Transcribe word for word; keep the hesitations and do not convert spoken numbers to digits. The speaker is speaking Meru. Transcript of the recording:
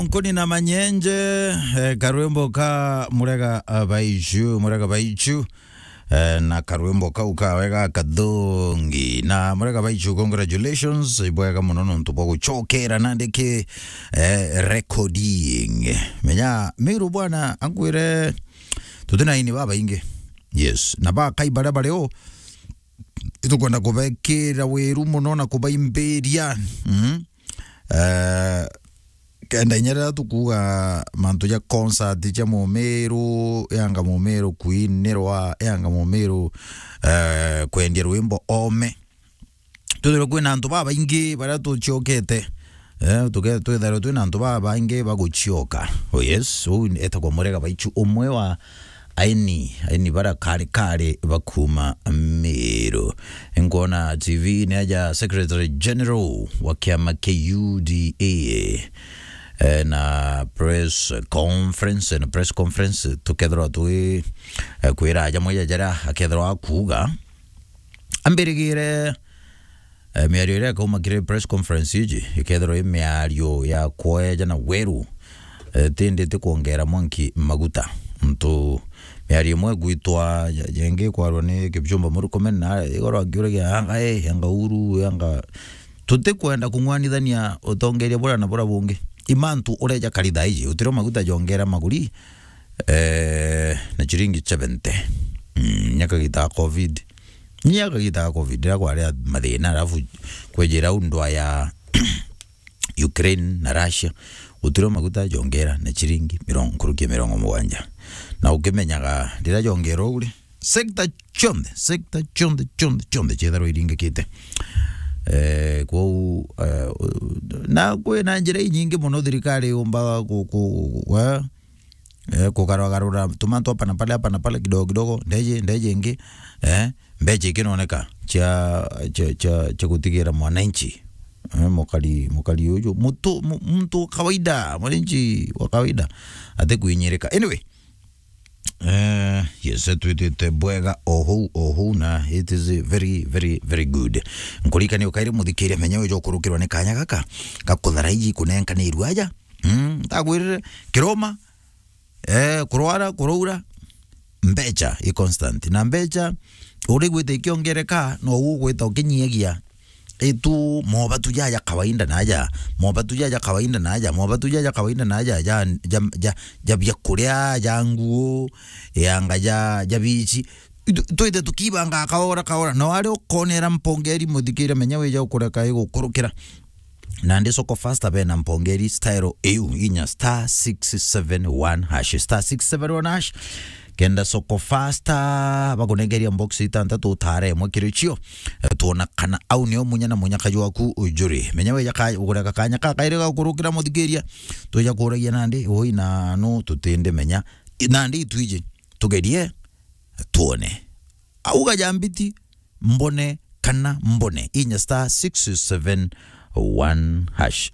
Nkuni na manyenje, eh, karwimbo ka Murega, ah, Baichu, Murega Baichu. Eh, na karwimbo kau kawe ga kathongi. Na Murega Baichu, congratulations. Ibwega muno nontu bwa gucokera nandi ki, eh, recording. Menya, Miru bwana, ankwire, tuti na aini babaingi. Yes. Na bakai baria bari o, itukwenda kubekira wiru muno na kubaimbiria. Mm. Eh, kenda inya riria tukuuga mantu ja concert ja Mumiru, yanga Mumiru kuinirwa, yanga Mumiru, eh, kwendia rwimbo ome. Twithirwe kwina antu babaingi baria tuciokete. Eh, tuke-, twithirwe twina antu babaingi bagucioka. Oh yes, uu etagwa Murega Baichu, umwe wa aini, aini bara kari kari bakuma Miru. Nkwona T V ni aja Secretary General wa kiama kia U D A, eh, na press conference, na press conference tukethirwa twi, eh, kwira jamwe ja jaria akethirwa akuuga. Ambirigire, eh, miario iria ikauma kiri press conference iji, ikethirwa i miario ya kweja na weru, eh, tindi ti kwongera mwanki maguta. Ntu miario imwe igwitwa, ja-, jengi ikwarwa ni Kipchumba Murkomen, na igoro akiuragia, "Anga, eh, anga Uhuru, anga." Tutikwenda kung'wanithania utongeria bura na bura bungi. Imantu ureja kari thaa iji, utirio maguta jongera maguri, eh, na chiringi seventy. Mm, nyaka gita covid. Nyaka gita covid, riria kwari mathina, alafu kwejira u ndwa ya Ukraine na Russia, gutirio maguta jongera na chiringi mirongo, nkuruki ya mirongo mugwanja. Na ukimenyaga, riria jongera uu ri, sector cionthe, sector cionthe, cionthe, cionthe cietharwa iringikite. Eh, kwou, eh, na kwina njira inyingi muno thirikari yumbaga ku-, ku-, ku-, eh, eh, kugarugarura tumantu hapa na pale, hapa na pale, kidogo kidogo, ndeje, ndeje ingi, eh, mbecha ikinoneka cia, cia, cia, cia gutigira mwananchi, eh, mukari, mukari uju, mutu-, mu-, muntu wa kawaida, mwananchi wa kawaida, ati kwinyirika. Anyway, eh, yes, twitite bwega o huu, o huu, na it is very, very, very good. Nkuririkania ukairi muthikiria menya uja ukurukirwa ni kanya gaka, gakuthara iji kunenkanirua aja. Mm, ndakwirire, kiroma, eh, kurwara, kuraura, mbecha i constant. Na mbecha, uri gwita ikiongereka, no ugwita ukinyiagia. Itu mobatu jaja kawaida naja, mobatu jaja kawaida naja, mobatu jaja kawaida naja, ja, ja, ja, ja biakuria, ja nguo, yanga ja, ja bici. Itu-, twite tukibanga kaora kaora. No ari ukonera mpongeri muthikire, menya wija ukureka igukurukira. Nandi Soko Fasta bena mpongeri style iu inya star six seven one hash, star six seven one hash. Kenda Soko Fasta bakunengeria box itantatu utare imwe kiri cio. Eh, tuona kana au nio munya na munya kaju waku ujuri. Menya weja ka-, ugureka kanya ka kairi ga gukurukira muthikiria. Twija kuragia nandi, ui na nu tutinde menya. I-, nandi itwiji. Tugerie, tuone. Auga ja mbiti, mbone kana mbone. Inya star six seven one hash.